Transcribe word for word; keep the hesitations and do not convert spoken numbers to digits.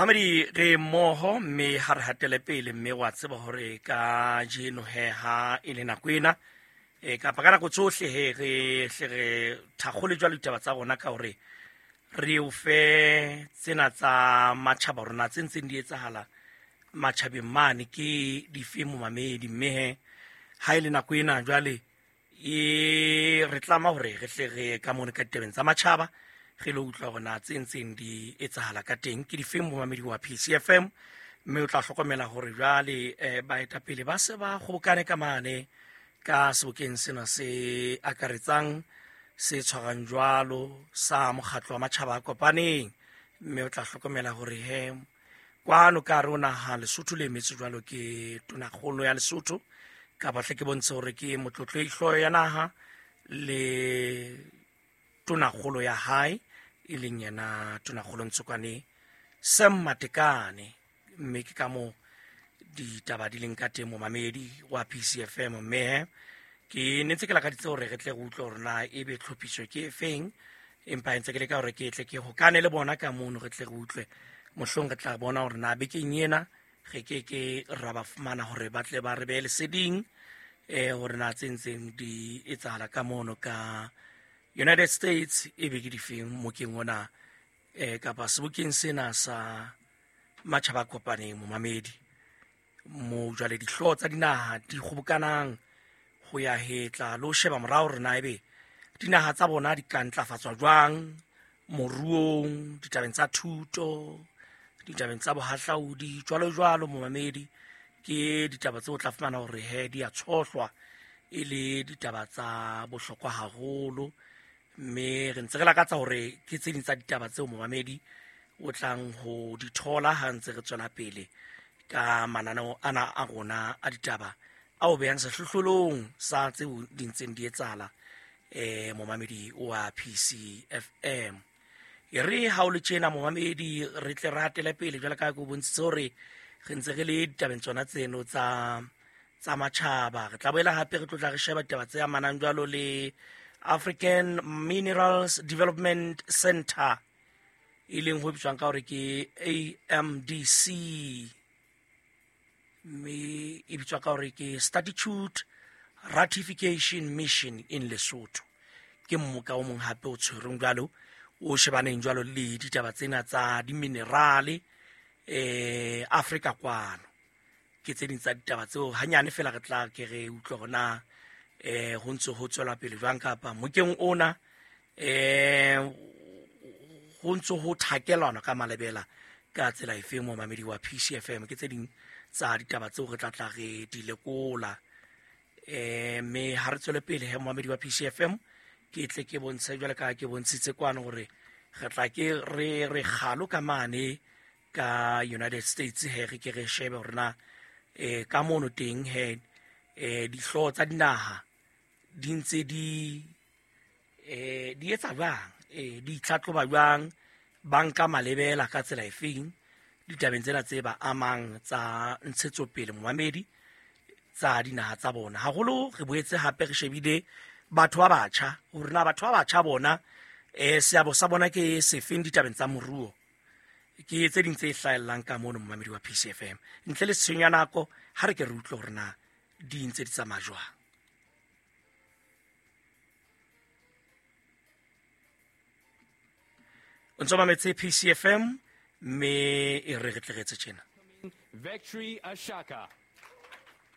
Mamedi re mmoho mme ha re hatele pele mme wa tseba hore ka jeno he ha e le nako ena e kapa ka nako tsohle he re hle re thakgole jwalo ditaba tsa rona ka hore re o fe tsena tsa matjhaba rona tse ntseng di etsahala matjhabeng mane ke dife momamedi. Mme he ha e le nako ena jwale e re tlama hore re hle re ka mone ka ditabeng tsa matjhaba re lo utlwa hore na tse ntseng di etsahala ka teng ke difeng momamedi wa P C F M. Mme o tla hlokomela hore jwale eh, baetapele ba se ba kgobokane ka mane ka sebokeng sena se akaretsang se tshwarang jwalo sa mokgatlo wa matjhaba a kopaneng. Mme o tla hlokomela hore he kwano ka hare ho naha Lesotho le emetswe jwalo ke tonakgolo ya Lesotho, kapa hle ke bontshe hore ke motlotlo e hlooho ya naha le tonakgolo ya hae e leng yena tonakgolo Ntsokwane Sam Matekane. Mme ke ka moo ditaba di leng ka teng momamedi wa P C F M. Mme he ke ne ntse ke lakaditse hore re tle re utlwe hore na ebe tlhophiso ke efeng, empa ntse ke leka hore ke tle ke hokane le bona ka mono re tle re utlwe. Mohlong re tla bona hore na bekeng ena re ke ke ra ba fumana hore ba tle ba re behe leseding eh hore na tse ntseng di etsahala ka mono ka United States e be ke difeng mokeng ona eh kapa sebokeng sena sa matjhaba a kopaneng momamedi, mo jwale dihlooho tsa dinaha di kgobokanang ho ya hetla le ho sheba morao hore na ebe dinaha tsa bona di ka ntlafatswa jwang moruong, ditabeng tsa thuto, ditabeng tsa bohahlaudi jwalo jwalo momamedi. Ke ditaba tseo o tla fumana hore he di a tshohlwa e le ditaba tsa bohlokwa haholo. Mme re ntse re lakatsa hore ke tse ding tsa ditaba tseo momamedi o tlang ho di thola ha ntse re tswela pele ka mananeo ana a rona a ditaba ao behang sehlohlolong sa tseo di ntseng di etsahala eh momamedi wa P C F M. E re ha o le tjena momamedi re tle re hatele pele jwalo ka ha ke o bontshitse hore re ntse re le ditabeng tsona tseno tsa tsa matjhaba. Re tla boela hape re tlotla re sheba ditaba tse amanang jwalo le African Minerals Development Center e leng ho bitswang ka hore ke A M D C, mme e bitswa ka hore ke Statute Ratification Mission in Lesotho. Ke mmoka o mong hape o tshwereng jwalo o shebaneng jwalo le ditaba tsena tsa diminerale eh Afrika kwano. Ke tse ding tsa ditaba tseo hanyane fela re tla ke re utlwe hore na eh ho ntse ho tswela pele jwang kapa mokeng ona eh ho ntse ho thakelwana ka malebela ka tsela efeng momamedi wa P C F M. Ke tse ding tsa ditaba tseo re tla tla re di lekola eh mme ha re tswele pele he momamedi wa P C F M ke tle ke bontshe jwale ka ke bontshitse kwano hore re tla ke re re kgalo ka mane ka United States he re ke re shebe hore na eh ka mono teng he eh dihlooho tsa dinaha di ntse di eh di etsa jwang, eh di itlhatlhoba jwang, ba nka malebela ka tsela efeng ditabeng tsena tse ba amang tsa ntshetsopele momamedi tsa dinaha tsa bona. Haholo re boetse hape re shebile batho ba batjha hore na batho ba batjha bona eh seabo sa bona ke sefeng ditabeng tsa moruo. Ke tse ding tse hlahellang ka mono momamedi wa P C F M. Ntle le tshenyo ya nako ha re ke re utlwe hore na di ntse di tsamaya jwang. O ntso mametse P C F M mme e re re tle re etse tjena. Victory Ashaka.